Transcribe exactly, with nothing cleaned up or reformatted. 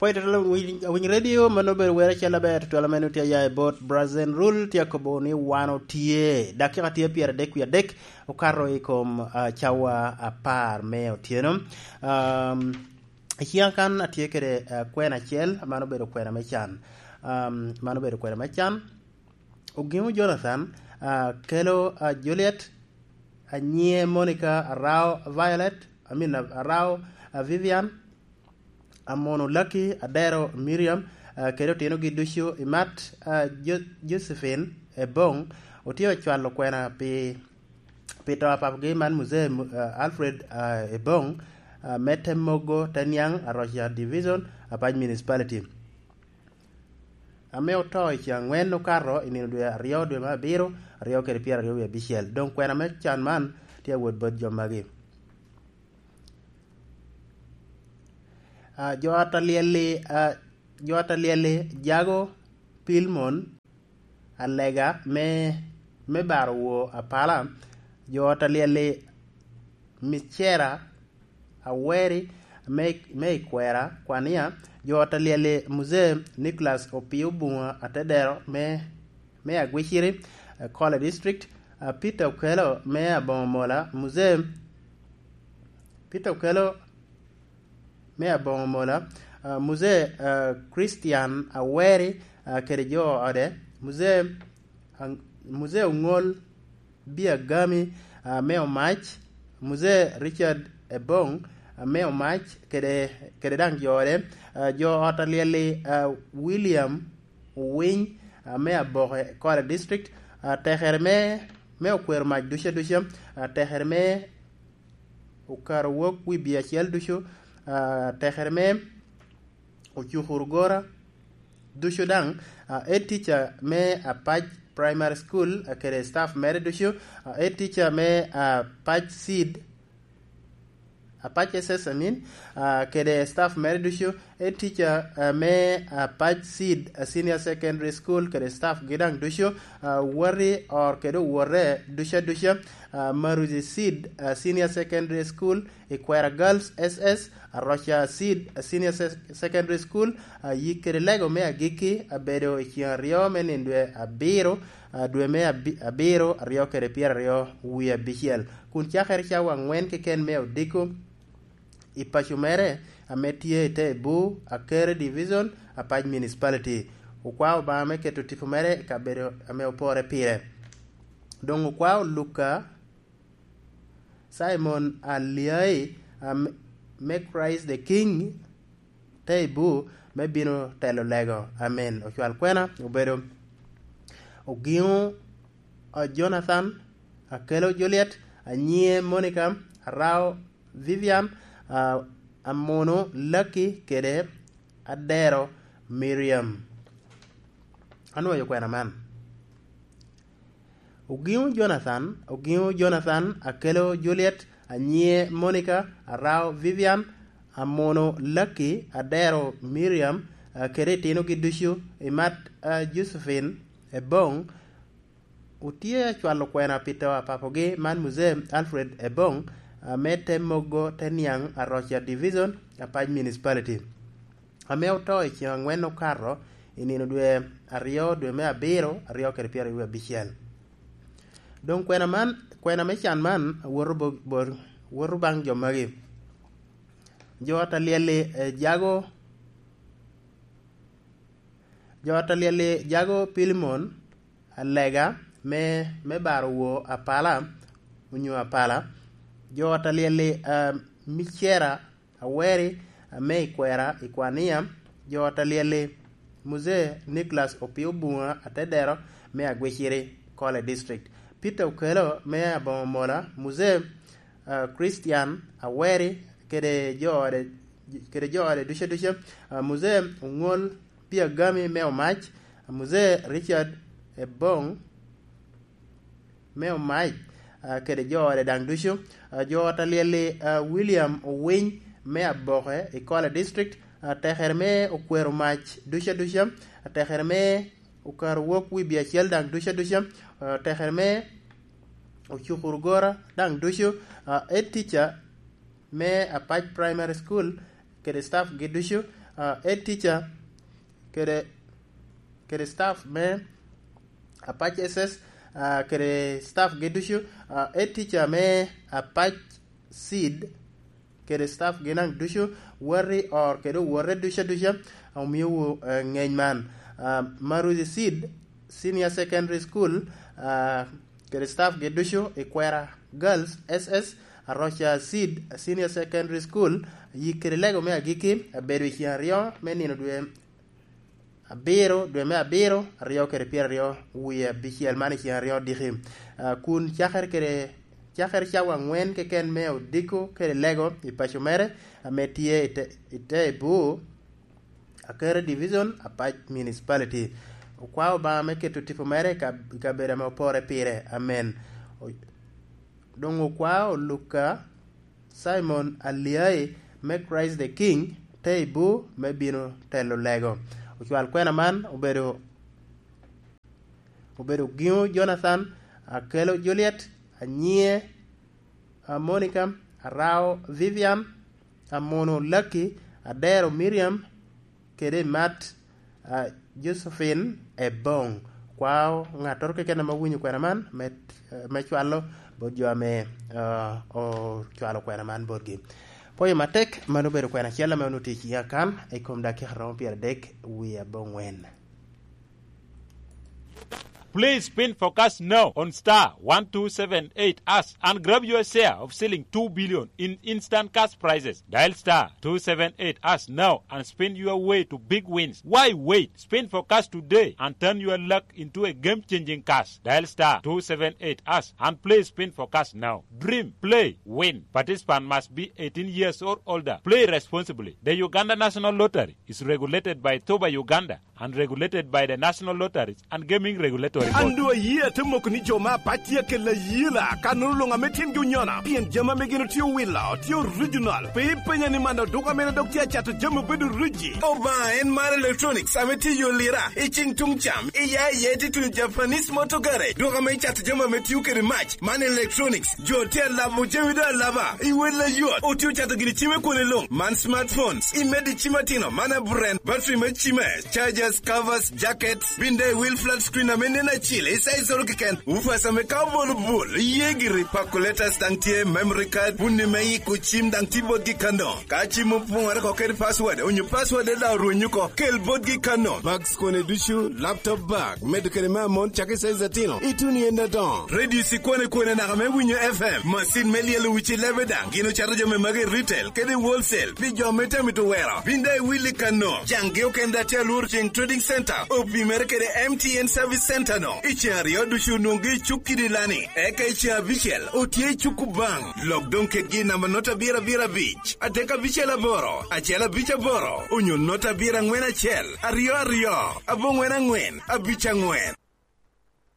Oi, tutwal awiny, awiny radio, mano obedo wer acel aber, tutwal ame tye aya i bot Brazen Rule, tye akobo ni wan otye. Dakika tye pyeradek wie adek, okato i kom, ah, cawa apar me otyeno. Um, i ciŋa kan atye kede, ah, kwena acel, mano obedo kwena me can. Um, mano obedo kwena me can. Ogiŋo Jonathan, ah, kelo, ah, Juliet, anyiŋe Monica, Arao Violet, I mean, Arao, ah, Vivian, Amono Lucky, Adero Miriam, ah, kede otinogi ducu i mat, ah, Jo-, Josephine Ebong, otye ocwalo kwena pi, pi to a papagi man Muzee, ah, Alfred, ah, Ebong, ah, me Temogo, Teniang, Aroca Division, Apac Municipality. Ame oto i ceŋ angwen okato i nino dwe aryo, dwe me abiro, aryo kede pyeraryo wie abicel. Doŋ kwena me can man tye awot bot jo magi. Ah, jo ot alyel-li, ah, jo ot alyel-li, Jago Pilmon, Alega me, me Baro Wor Apala, jo ot alyel-li, Micera Aweri me, me Ikwera, Kwania, jo ot alyel-li, Muzee Nicholas Opio Bunga Atedero me, me Agwiciri, eh, Kole District, ah, Peter Okello me Aboŋo Mola, Muzee Peter Okello me Aboŋo Mola, ah, Muzee, ah, Christian Aweri, ah, kede jo ode, Muzee Ang-, Muzee Oŋol Biagami, ah, me Omac, Muzee Richard Ebong, ah, me Omac, kede, kede daŋ jo ode, ah, jo ot alyel-li, ah, William Owiny, ah, me Aboke Kole District, ah, tekere me, me okwero mac ducu aduca, ah, tekere me okato wok wi bia acel ducu, ah, tekere me Ocukuru Gora ducu daŋ, ah, head teacher me Apac Primary School, ah, kede staff mere ducu, ah, head teacher me, ah, Apac Seed, Apac S S, I mean, ah, kede staff mere ducu, head teacher, ah, me, ah, Apac Seed, ah, Senior Secondary School, kede staff gi daŋ ducu, ah, Wati Or kede owote ducu aduca, ah, Maruzi Seed, ah, Senior Secondary School, Ikwera Girls S S, Aroca Seed, ah, Senior Se-, Secondary School, ah, yik kede lego me agikki abedo i ceŋ aryo me nino dwe abiro, ah, dwe me abi-, abiro, aryo kede pyeraryo wie abicel. Kun cakere cawa aŋwen keken me odiko, i paco mere ame tye i te Ebu, Akere Division, Apac Municipality. Okwao Obaŋa me keto tipo mere i kabedo ame opore pire. Doŋ okwao Luka, Simon Aliai, am-, me Christ the King, te Ebu, me bino telo lego. Amen. Ocwal kwena obedo Ogiŋo, a, Jonathan, Akelo Juliet, Anyiŋe Monica, Arao Vivian, a, Amono Lucky kede Adero Miriam. Anwoyo kwena man. Ogiŋo Jonathan, Ogiŋo Jonathan, Akelo Juliet, Anyiŋe Monica, Arao Vivian, Amono Lucky, Adero Miriam, a, kede itinogi ducu, i mat, a, Josephine Ebong, otye acwalo kwena pi to a papogi man Muzee Alfred Ebong, a, me te Mogo, te Niaŋ, Aroca Division, Apac Municipality, ame oto i ceŋ aŋwen okato i nino dwe aryo, dwe me abiro, aryo kede pyeraryo abicel. Doŋ kwena man, kwena me can man, woto bo-, bo-, woto baŋ jo magi. Jo ot alyel-li, eh, Jago, jo ot alyel-li Jago Pilimon, Alega me, me Baro Wor Apala, onyo Apala. Jo ot alyel-li, eh, Micera Aweri, ame i kwera i Kwania, jo ot alyel-li, Muzee Nicholas Opio Bunga Atedero me Agwiciri, Kole District. Peter Okello me Aboŋo Mola, Muzee, ah, Christian Aweri, kede jo ode, kede jo ode ducu aduca, ah, Muzee Oŋol Piagami me Omac, Muzee Richard Ebong, me Omac, ah, kede jo ode daŋ ducu, ah, jo ot alyel-li, ah, William Owiny me Aboke i Kole District, ah, tekere me okwero mac ducu aduca, ah, tekere me okato wok wi bia acel daŋ ducu aduca, ah, tekere me ocukuru gora daŋ ducu, ah, head teacher me Apac Primary School kede staff gi ducu, ah, head teacher kede, kede staff me Apac S S, ah, kede staff gi ducu, ah, head teacher me Apac Seed kede staff gi naŋ ducu, wati or kede owote ducu aduca, omiowu, eh, ŋeny man. Ah, Maruzi Seed Senior Secondary School, ah, kede staff gi ducu i Kwera Girls S S, Aroca Seed Senior Secondary School, yik kede lego me agikki abedo i ceng aryo me nino dwe abiro, dwe me abiro, aryo kede pyeraryo wie abicel man i ceng aryo diki. Ah, kun cakere kede, cakere cawa angwen keken me odiko kede lego i paco mere ame tye i te, i te Ebur, Akere Division, Apac Municipality. Okwao Obaŋa me keto tipo mere i kab-, i kabedo ame opore pire. Amen. O-, doŋ okwao Luka Simon Aliai me Christ the King, te Ebur me bino telo lego. Ocwal kwena man obedo, obedo Giŋo Jonathan, Akelo Juliet, Anyie, a, Monica, Arao Vivian, Amono Lucky, Adero Miriam, kede Mat, a, Josephine Ebong. Kwao ŋattoro keken ame owinyo kwena man me, me cwalo bot jo ame, a, ocwalo kwena man botgi. Pwoyo matek, mano obedo kwena acel ame onwoŋo tye i ciŋa kan i kom dakika romo pyeradek wie aboŋwen. Please spin for cash now on star one two seven eight hash and grab your share of ceiling two billion in instant cash prizes. Dial star two seven eight hash now and spin your way to big wins. Why wait? Spin for cash today and turn your luck into a game-changing cash. Dial star two seven eight hash and play spin for cash now. Dream, play, win. Participant must be eighteen years or older. Play responsibly. The Uganda National Lottery is regulated by Toba Uganda and regulated by the National Lotteries and Gaming Regulatory Board. An doŋ ayie ate moko ni jo me Apac tye akelo ayela, kannono luŋ ame tyengi onyona, pien jami ame gin otye owilo tye original. Pe ipenya ni man dok duka mene dok tye acato jami obedo origi. Obaŋa en mar electronics ame tye i yo lira, i ciŋ tuŋ cam, i ya i ya ite tuno Japanese Motor Garage, duka ame icato jami ame tio kede mac. Man electronics, jo tye alabo jami doŋ alaba, i wel ayot, otye ocato gini cim i kwone luŋ, man smartphones, i medo i cim atino, man aburen, battery me cime, chargers, covers, jackets, bin daŋ i wil flat screen ame nen acil, i size oro keken, woofers ame ka obolo bul, iye giri, calculators daŋ tye, memory card, puni me yiko cim daŋ tye botgi kano. Ka cim opoŋore oko kede password, onyo password daŋ orwenyo oko, kel botgi kano. Bags kone ducu, laptop bag, medo kede me amon, cak i size atino, ituno i en adoŋo. Radio cikwane kwane naka me winyo F M, macin me lyelo wici lebe daŋ, gin ocato jami magi i retail kede i wholesale, pi jo me temo mito wero. Bin daŋ i Willy Kano, caŋgi okene daŋ tye alworo ceŋ Trading Center, opimere kede M T N Service Center no. I ceŋ aryo ducu onwoŋogi i cuk kidi lani, eka i ceŋ abicel otye i cuk Kubaŋ. Lok doŋ kedgi i namba nota abiro abiro abic, adek abicel aboro, acel abic aboro, onyo nota abiro aŋwen acel, aryo aryo, aboŋwen aŋwen, abic aŋwen.